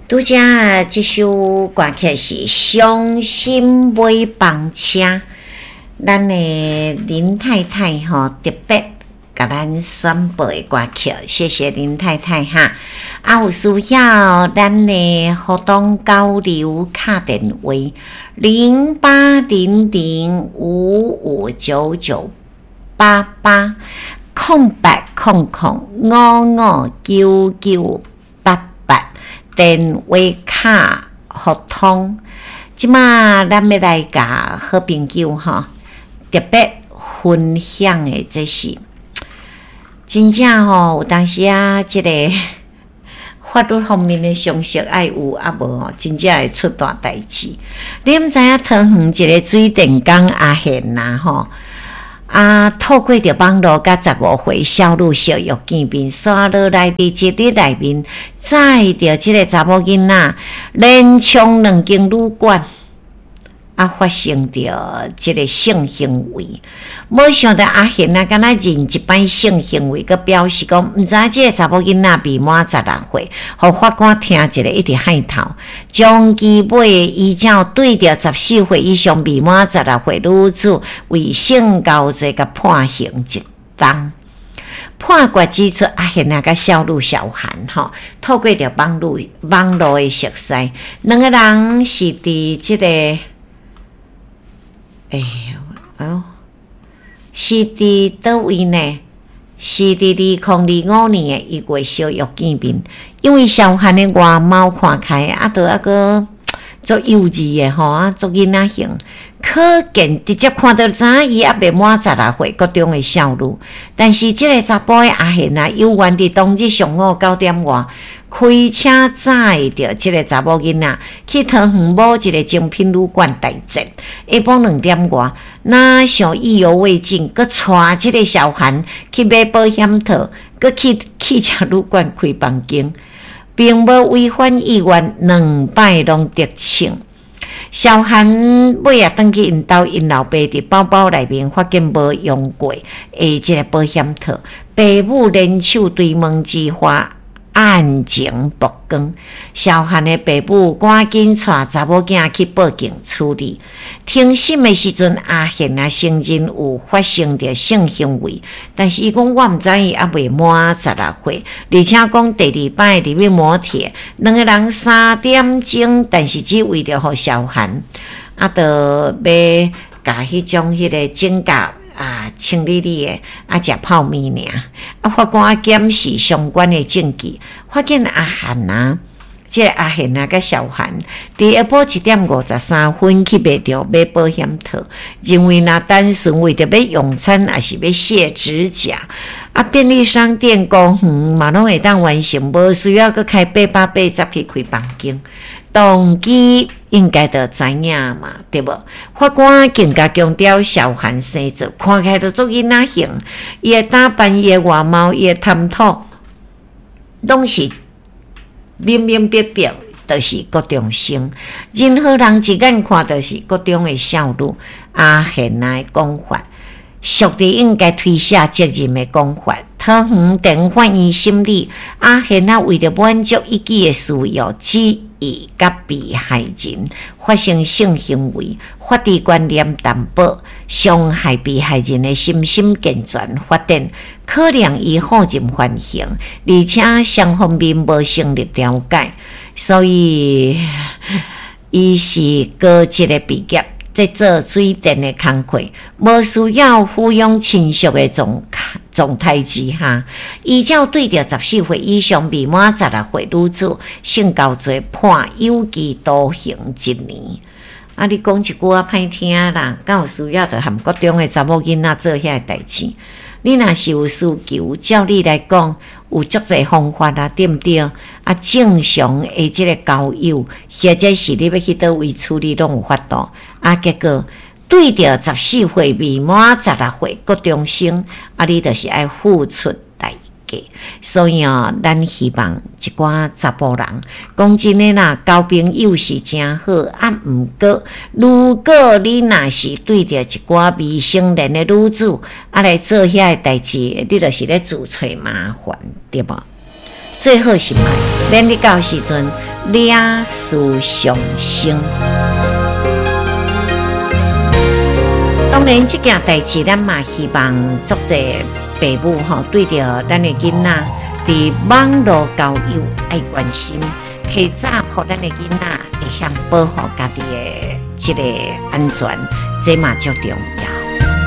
拄才這首歌曲是《傷心尾班車》，咱的林太太吼特別共咱選播的歌曲，謝謝林太太哈。啊，有需要咱的活動交流敲電話08005599880800559988。電話卡互通，這馬咱欲來共好朋友吼特別分享的，這是真正吼有當時啊，這個法律方面的常識愛有啊無吼，真正會出大代誌。你毋知影桃園一個水電工阿賢啊吼。啊，透過著網路佮15歲少女相約見面，煞落來佇一日內面，載著這個查某囡仔，連衝兩間旅館，啊，發生著這個性行為。無想著阿賢啊，敢若認一擺性行為，閣表示講毋知影這個查某囡仔未滿十六歲，予法官聽一下一直害頭，將其尾依照對著14歲以上未滿十六歲女子為性交罪，共判刑一冬。判決指出，阿賢啊，佮少女小韓吼，透過著網路網路的熟似，兩個人是佇這個，欸，哦。是佇佗位呢？是佇2025年的1月相約見面，因為小韓的外貌看起來啊，都猶閣足幼稚的吼，啊，足囡仔型，可見直接看著知影伊猶未滿十六歲國中的少女。但是這個查埔的阿賢啊，猶原佇當日上午9點外，開車載著這個查某囡仔去桃園某一個精品旅館待診。下晡2點外，若想意猶未盡，閣帶這個小韓去買保險套，閣去汽車旅館開房間，並無違反意願，兩擺攏得逞。小韓尾仔轉去𪜶兜，𪜶老爸佇包包內面發現無用過的這個保險套，爸母聯手追問之下，案情曝光，小韓的爸母趕緊帶查某囝去報警處理。庭審的時陣，阿賢啊承認有發生著性行為，但是伊講我毋知伊猶未滿十六歲，而且講第二擺入去摩鐵，兩個人3點鐘，但是只為著予小韓啊，著欲共彼種彼個指甲。啊，清理理的，啊，食泡麵爾。啊，法官檢視相關的證據，發現阿韓啊，這個阿賢啊，佮小韓佇下晡1點53分去賣著買保險套，認為若單純為著欲用餐，抑是欲卸指甲，啊，便利商店公園嘛攏會當完成，無需要閣開880去開房間。動機應該就知影嘛，對無？法官更加強調，小韓生做看起來就足囡仔型，伊的打扮、伊的外貌、伊的談吐，攏是明明白白，就是國中生。任何人一眼看就是國中的少女。阿賢的講法，屬佇應該推卸責任的講法。桃園地法院審理，阿賢啊為著滿足一己的私欲，旨意佮被害人發生性行為，法治觀念淡薄，傷害被害人的身心健全發展，可能伊放任犯行，而且雙方面無成立調解，所以伊是高職的畢業。在做水電的工課，無需要撫養親屬的狀狀態之下，依照對著14歲以上未滿十六歲女子性交罪判有期徒刑一年。啊，你講一句仔歹聽啦，敢有需要著和國中的查某囡仔做遐个代誌？你若是有需求，照理來講有足濟方法啊，對毋對？啊，正常的這個交友，或者是你欲去佗位處理，攏有法度。啊，結果對著14歲未滿十六歲國中生，啊，你就是愛付出代價。所以哦，咱希望一寡查埔人，講真的啦，交朋友是誠好，啊，毋過如果你若是對著一寡未成年的女子，啊來做遐個代誌，你就是咧自揣麻煩，對無？最好是莫，免你到時陣，惹事上身。當然，這件代誌咱嘛希望足濟爸母吼，對著咱的囡仔佇網路交友愛關心，提早予咱的囡仔會曉保護家己的這个安全，這嘛足重要。